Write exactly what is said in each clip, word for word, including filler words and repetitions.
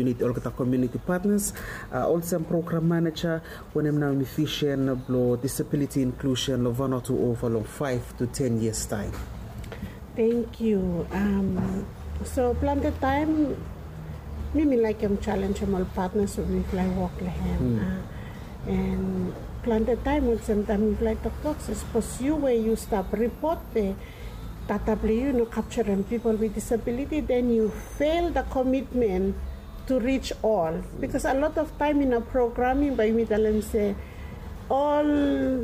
Olgeta community partners, olsem program manager, wanem nao yumi vision blong disability inclusion long Vanuatu ova long five to ten years time? Thank you. So plante taem mi mi laekem challengem ol partners we mifala i wok long hem. And plante taem olsem taem mifala i toktok se sapos yu we yu stap ripot be data blong yu no kapturem pipol with disability, then you fail the commitment to reach all. Because a lot of time in a programming bae yumi talem se ol,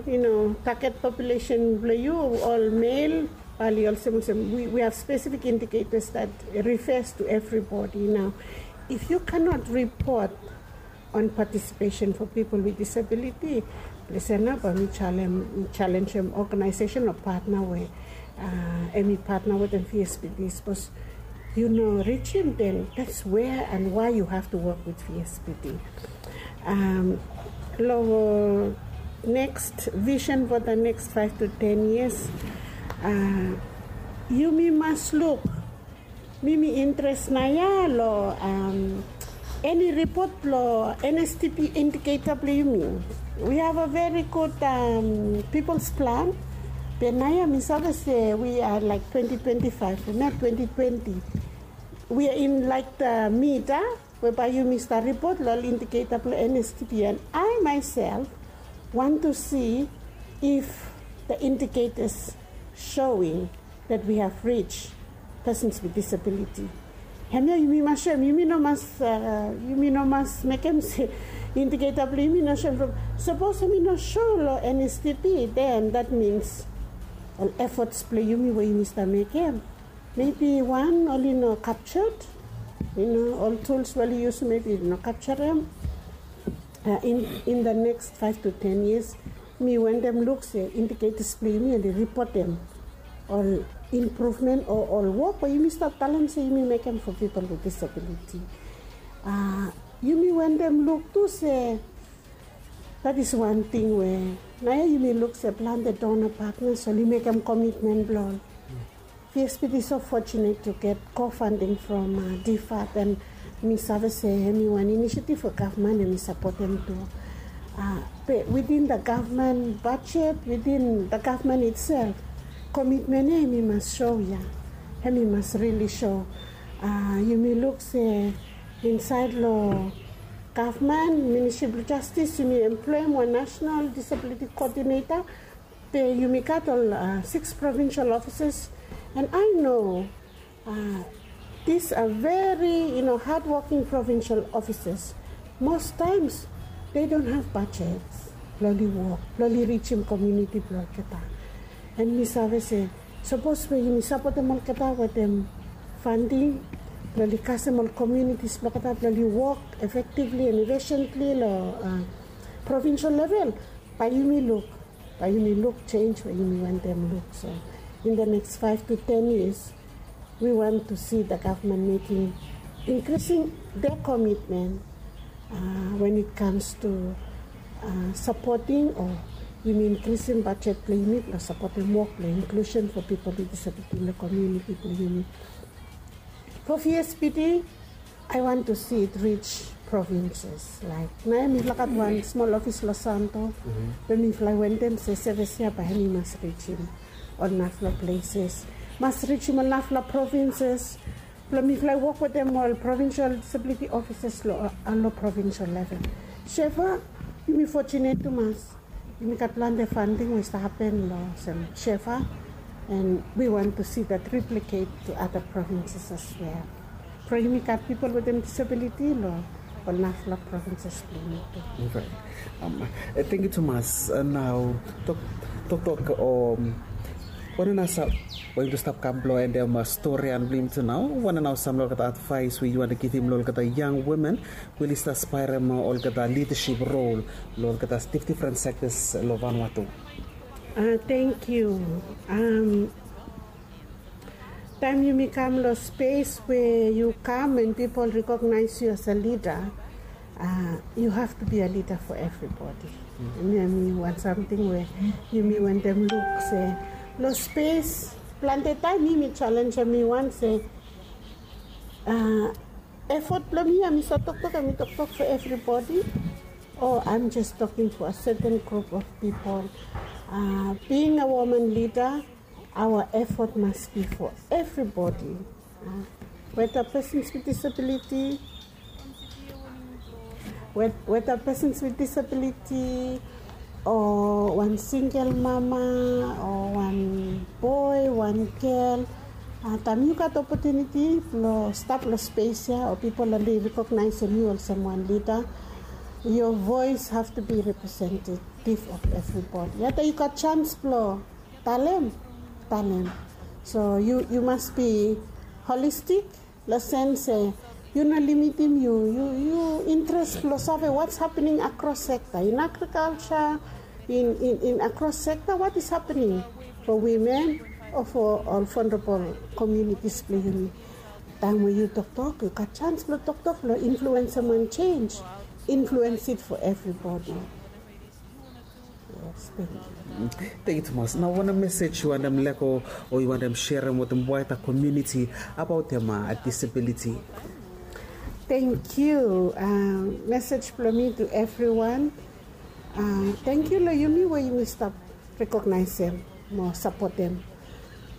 you know, target population blong yu ol male, bali olsem olsem we, we have specific indicators that refers to everybody. Now, if you cannot report on participation for people with disability, listen up, mi challenge, challenge em organization or partner we, uh, em i partner wetem V S P D, sapos yu no reach him, then that's where and why you have to work with V S P D. Um, long next vision for the next five to ten years, uh, yumi mas luk. Mi mi interes naoia long, um, eni ripot blong N S T P indiketa blong yumi. We have a very good, um, people's plan. Be naoia mi save se we are like twenty twenty-five, not twenty twenty. We are in like the mid, ah, we bae yumi stap ripot long ol indiketa blong N S T P. And I myself want to see if the indicators showing that we have reached persons with disability. Hemia yumi mas soem, yumi no mas, uh, yumi no mas mekem se indiketa blong yumi no soem from. Sapos hemi no show long N S T P, then that means ol efforts blong yumi we yumi stap mekem, maybe wan, oli no captured. You know, ol tools we oli yusum maybe no capturem. Uh, in, in the next five to ten years, mi wantem luk se indicators blong yumi oli ripotem ol improvement o ol wok we yumi stap talem se yumi mekem for people with disability. Uh, yumi wantem luk tu se that is one thing we naoia yumi luk se plante donor partners oli mekem commitment blong ol. V S P D is so fortunate to get co-funding from, uh, D fund, and mi save se hemi wan initiative we gavman hemi sapotem tu. Uh, be within the government budget, within the government itself, commitment ia hemi mas show ia. Hemi mas really show. Uh, yumi luk se insaed long gavman, Ministry blong Justice, yumi employem wan national disability coordinator. Be yumi gat ol, uh, six provincial offices, and I know, uh, these are very, you know, hardworking provincial offices. Most times they don't have budgets blong oli wok blong oli rijim community blong olgeta. And mi save se sapos we yumi sapotem olgeta wetem funding blong oli kasem ol communities blong olgeta blong oli wok effectively and efficiently long, uh, provincial level, bae yumi luk, bae yumi luk change we yumi wantem luk. So in the next five to ten years, we want to see the government making, increasing their commitment, uh, when it comes to, uh, supporting or yumi increasing budget blong yumi blong sapotem wok blong inclusion for people with disability long community blong yumi. For V S P D, I want to see it reach provinces. Like naoia mifala gat wan smol ofis long Santo, be mifala wantem se sevis ia bae hemi mas rijim ol narafala places, mas rijim ol narafala provinces. Blong mifala wok wetem ol provincial disability offices long, uh, long provincial level. Shefa, yumi fortunate tumas. Yumi gat plante funding we i stap hapen long olsem Shefa, and we want to see that replicate to other provinces as well. From yumi gat people wetem disability long ol narafala provinces blong yumi tu. Right. Um, eh, thank you tumas. Uh, nao tok, toktok, um, wanem nao sa, we yumi tu stap kam blong endem, uh, storian blong yumi tu nao. Wanem nao sam long olgeta advice we yu wantem givim long olgeta young women we oli stap aspirem olgeta leadership role long olgeta dif-, different sectors long Vanuatu. Uh, thank you. Um, taem yumi kam long space we yu kam and people recognize you as a leader, uh, you have to be a leader for everybody. Hemia hemi wan samting we yumi wantem luk se long space, plante taem mi mi challenge mi wan se, uh, Effort blong mi, hemi save toktok, hemi toktok for everybody, or I'm just talking for a certain group of people. Uh, being a woman leader, our effort must be for everybody. Uh, whether persons with disability, whether persons with disability, o wan singel mama, o wan boe, wan gel. Uh, taem yu gat opotuniti blong stap long spes ya, o pipol oli rekognaesem yu olsem wan lida, your voice have to be representative of everybody. Yet yu gat chance blong talem, talem. So yu, yu must be holistic, long sens se yu no limitim yu, yu, yu interes blong save what's happening across sector, in agriculture, in, in, in across sector, what is happening for women o for ol vulnerable communities blong yumi. Taem we yu toktok, yu gat chance blong toktok, blong influensem wan change, influence it for everybody. Yes, thank you. Thank you tumas. Nao wanem message yu wantem lego o yu wantem serem wetem wider community abaot disability? Thank you. Uh, message blong mi to everyone. Uh, thank you long yumi we yumi stap recognize mo sapotem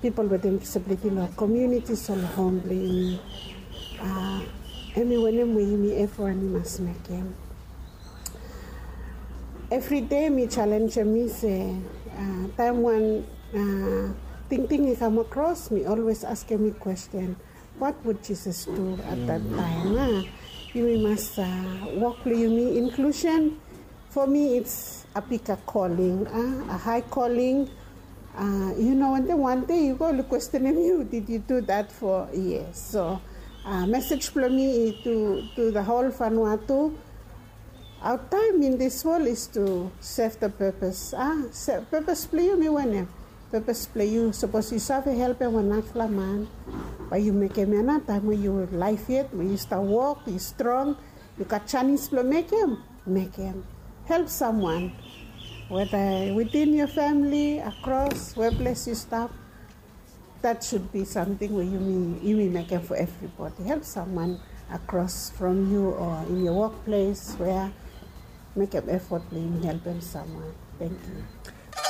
pipol wetem disability long communities o long hom blong yumi. Uh, hemi wanem we yumi evriwan i mas mekem. Evri dei mi challenge mi se, uh, taem wan, uh, tingting i kam across, mi always askem mi question, what would Jesus do at that time? Uh? Yumi mas, uh, wok blong yumi inclusion. For me, it's a bigger calling, uh, a high calling. Uh, yu no wantem wan dei yu go oli kwestenem yu, did you do that for years? So, uh, message blong mi to, to the whole Vanuatu. Our time in this world is to serve the purpose. Ah, purpose blong yumi wanem? Purpose blong yu, sapos yu save helpem wan narafala man, bae yu mekem ya nao, taem we yu laef yet, we yu stap wok, yu strong, yu gat janis blong mekem, mekem. Help someone, whether within your family, across, where place yu stap. That should be something we yumi, yumi mekem for everybody. Help someone across from you or in your workplace, where mekem effort blong yumi helpem someone. Thank you.